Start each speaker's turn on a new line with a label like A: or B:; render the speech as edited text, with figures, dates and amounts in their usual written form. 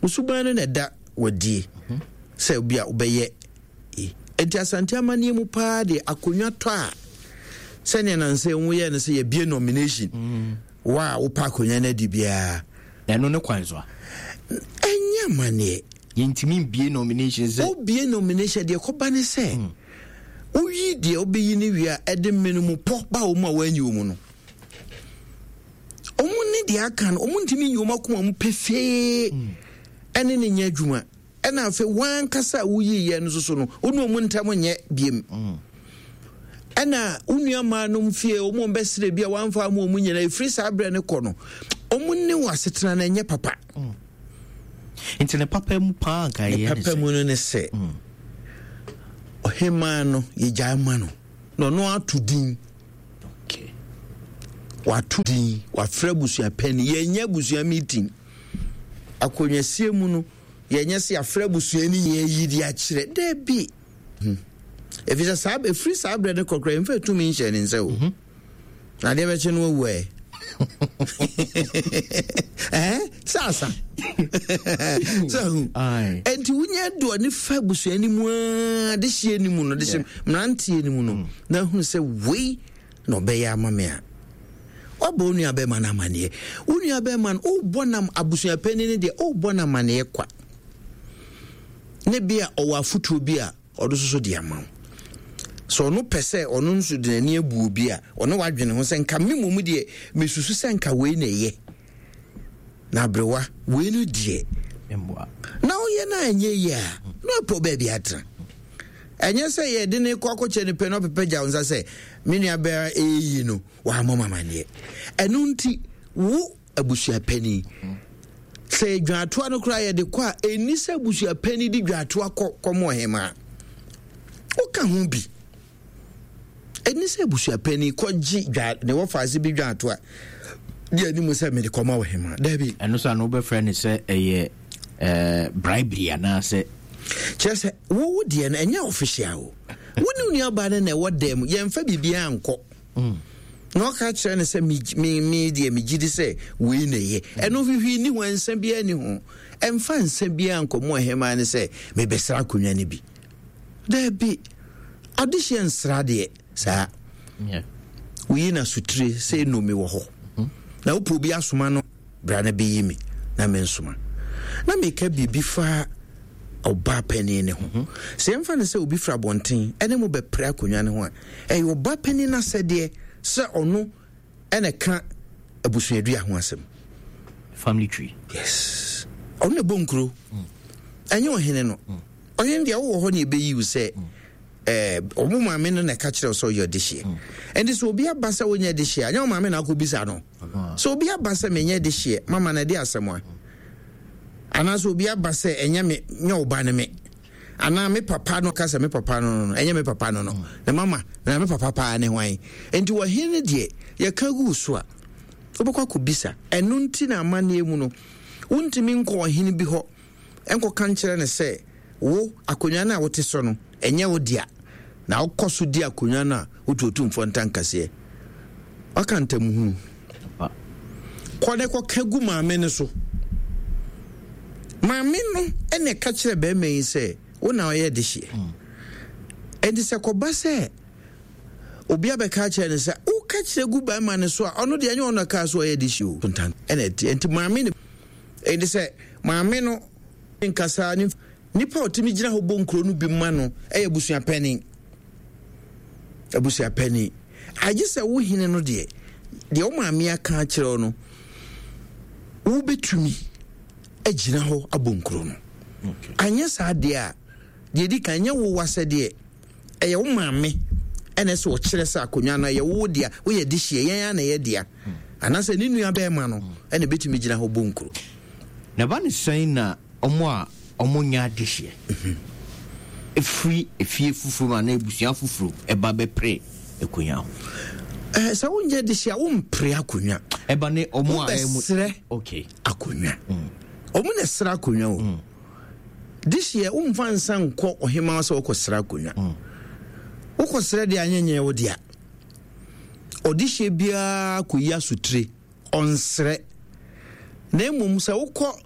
A: Wo suban no na ɛda wadie sɛ obi a wobɛyɛ. Enti Asante amanneɛ mu paa deɛ, akonnwa tɔ a, sɛnea nansɛ wo yɛ no sɛ yɛbie nomination, wo a wopɛ akonnwa no adi biara.
B: Ɛno ne kwan so a.
A: Ɛnyɛ amanneɛ.
B: Yɛntumi mbie nomination sɛ.
A: Wobie nomination deɛ, kɔba ne sɛ woyi deɛ wobɛyi no wie a, ɛde mmene mu pɔ ba wɔ mu a woanyi wɔ mu no. Ɔmo ne deɛ aka no, ɔmo ntumi nyi ɔmo akoma mu pefee ɛne ne nyɛ adwuma. Ɛna afei wankasa a woyi yɛ no soso no, wo ne ɔmo ntam nyɛ biem. Ɛna wo nua maa nom fie ɔmo bɛsrɛ bi a wamfa ama ɔmo nyinaa, ɛfiri saa berɛ no kɔ no, ɔmo ne wɔ asetena no ɛnyɛ papa.
B: Nti ne papa mu paa nka
A: yɛ ne papa mu no ne sɛ ɔhemaa no yɛgyae ma no na ɔno ato din. Wato din, wafrɛ abusua panyin. Yɛnyɛ abusua meeting. Akonnwasie mu no, yɛnyɛ sɛ yɛafrɛ abusua no nyɛ yi de akyerɛ. Daabi. Ɛfiri sɛ saa ɛfiri saa berɛ no kɔkora, yɛmfa tumi nhyɛ ne nsa o. Na adeɛ bɛkye no awu ɛ. Ɛɛ sɛ asa. Sɛ hu. Ɛnti wonya doɔ ne fa abusua no mu aa de hyɛ no mu no, de hyɛ mmeranteɛ no mu no, na ahunu sɛ wei na ɔbɛyɛ ama me a, wabɔ wo nua bɛrima no amanneɛ. Wo nua bɛrima no, wobɔ nam abusua panin no deɛ, wobɔ no amanneɛ kwa. Ne bi a ɔwɔ afotuo bi a ɔde soso de ama wo. Sɛ ɔno pɛ sɛ ɔno nso de n'ani abu obi a, ɔne wadwene ho sɛ nka me mmom deɛ mesusu sɛ nka wei na ɛyɛ. Na aberewa wei no deɛ na ɔyɛ no a ɛnyɛ yie a, na ɔpɛ baabi atena. Ɛnyɛ sɛ yɛde ne kɔ akɔkyɛ no pɛ na ɔpepɛ gya wo nsa sɛ me nua bɛra ɛyi no wammɔ m amanneɛ. Ɛno nti wo abusuapani, sɛ dwaatoa no koraa yɛde kɔ a, ɛnni sɛ abusuapani de dwaatoa kɔ kɔmɔ ɔhemaa. Woka ho bi. Ɛnni sɛ abusuapani kɔgye dwa ne wɔfaase bi dwaatoa de anim sɛ mede kɔma ɔhemaa. Daabi.
B: Ɛno so ano wobɛfrɛ no sɛ ɛyɛ bribery anaasɛ?
A: Kyerɛ sɛ wowo deɛ no ɛnyɛ official o. Wo ne nuabaa no na ɛwɔ dan mu, yɛmfa biribiara nkɔ. Na ɔka kyerɛ no sɛ me deɛ megye di sɛ wei na ɛyɛ. Ɛno hwehwee ni ho, nsa biara ni ho. Ɛmfa nsa biara nkɔ mu ɔhemaa no sɛ mebɛsra akonnwa no bi. Daabi, adehyeɛ nsra deɛ saa. Woyi no asotire sɛ nnome wɔ hɔ. Na wopɛ obi asoma no, bra na bɛyi me na mensoma. Na meka biribi fa ɔbaa panin no ho. Sɛ yɛmfa no sɛ obi firi abɔnten ne mo bɛpere akonnwa no ho a, ɛyɛ ɔbaa panin no asɛdeɛ sɛ ɔno ɛna ɛka abusuadua ho asɛm.
B: Family tree.
A: Yes. Ɔno na ɛbɔ nkuro. Ɛnyɛ ɔhene no. Ɔhene deɛ, wowɔ hɔ ne ɛbɛyi wo sɛ ɔmo maame no na ɛka kyerɛ wo sɛ ɔyɛ ɔdehyeɛ. Ɛnti sɛ obi aba sɛ wonyɛ dehyeɛ a, ɛnyɛ wo maame na akɔbisa no. Sɛ obi aba sɛ menyɛ dehyeɛ, mama no ɛde asɛm a. Anaasɛ obi aba sɛ ɛnyɛ me, nyɛ wo ba ne me. Anaa me papa no ka sɛ me papa no, ɛnyɛ me papa no, na mama na me papa paa ne hwan. Nti ɔhene no deɛ, yɛka gu so a, wobɛkɔ akɔbisa. Ɛno nti na amanneɛ mu no, wontumi nkɔ ɔhene bi hɔ nkɔka nkyerɛ no sɛ wo akonnwa no a wote so no, ɛnyɛ wo dea, na wokɔ so di akonnwa no a, wotu Otumfoɔ ntankaseɛ. Waka ntamuhunu. Kɔ ne kɔka gu maame no so. Maame no ɛna ɛka kyerɛ bɛrima yi sɛ wo na ɔyɛ dehyeɛ. Ɛnti sɛ kɔba sɛ obi abɛka kyerɛ no sɛ woka kyerɛ gu bɛrima no so a, ɔno deɛ ɛnyɛ ɔno ɛka so ɔyɛ dehyeɛ o. Ɛna ɛte ɛnti maame no, ɛnti sɛ maame no nkasa ne nipa a ɔtumi gyina hɔ bɔ nkuro no bi ma no ɛyɛ abusuapanin. Abusuapanin agye sɛ wo hene no deɛ, deɛ wo maame aka akyerɛ wo no, wobɛtumi agyina hɔ abɔ nkuro no. Anyɛ saa deɛ a, deɛ di kan, nyɛ wo wasɛdeɛ, ɛyɛ wo maame ɛna ɛsɛ ɔkyerɛ sɛ akonnwa no ɛyɛ wo dea, woyɛ dehyeɛ, yɛn a na ɛyɛ dea, anaasɛ ne nua bɛrima no ɛna ɛbɛtumi gyina hɔ bɔ nkuro.
B: Na ɛba ne sɛn na ɔmo a ɔmo nyɛ adehyeɛ ɛfiri efie foforɔ mu anaa abusua foforɔ mu ɛba bɛpere akonnwa ho?
A: Sɛ wonyɛ dehyeɛ a, wompere akonnwa.
B: Ɛba ne ɔmo a
A: wobɛsrɛ akonnwa. Ɔmo na ɛsrɛ akonnwa o. Dehyeɛ womfa nsa nkɔ ɔhemaa sɛ wokɔsrɛ akonnwa. Wokɔsrɛ deɛ, anyɛ nyɛ wo dea. Ɔdehyeɛ biara kɔyi asotire, ɔnsrɛ. Na mmom sɛ wokɔ